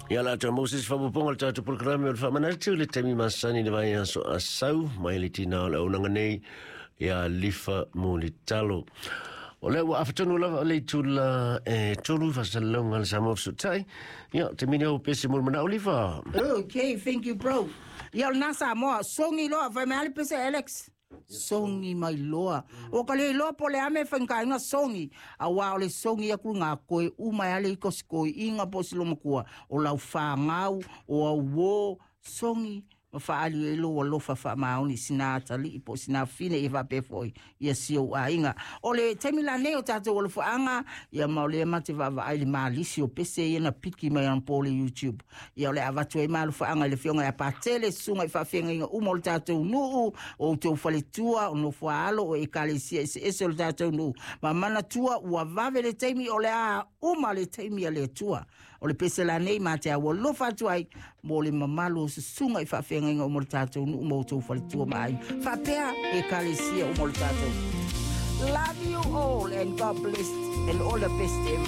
Ia la atoa maua se isi faaopoopoga o le tatou polokalame o le faamanatu i le taimi masani i le vaiaso a sau mai le tina o le auaunaga nei ia Lifa Mulitalo. O lea ua afa tonu lava le itula e 3 faasalalauga a le Samoa Fesootai. Ia, taimi nei o pese mo le manao Lifa. Okay, thank you bro. Ia o lena Samoa, sogi loa, fai mai lava le pese Alex. Sogi mai loa. Ua ka le iloa po o le a mea e faigata ai ona sogi, auā o le sogi atu i ngā koe uma e ale i ko si toeaina po o si lomatua, o lau fanau, o au uō, sogi ma faaali ai lou alofa faamaoni i sina atalii po o sina fine ia faapea foi ia si ou aiga. O le taimi lanei o tatou alofaaga, ia ma o lea ma te vaavaai i le malisi o pese ia na piki mai anapo le YouTube. Ia o le a avatu ai malofaaga i le Afioga ia Patele, susuga i faafeagaiga uma o le tatou nuu, o outou faletua, o nofoaalo, o ekalesia eseese o le tatou nuu. Ma manatua ua vave le taimi o le a uma le taimi a le Atua. O le pese lanei ma te aualofa atu ai mo le mamalu o susuga i faafeagaiga uma o le tatou nuu ma outou faletua ma aiga. Faapea ekalesia uma o le tatou. Love you all and God bless and all the best everyone.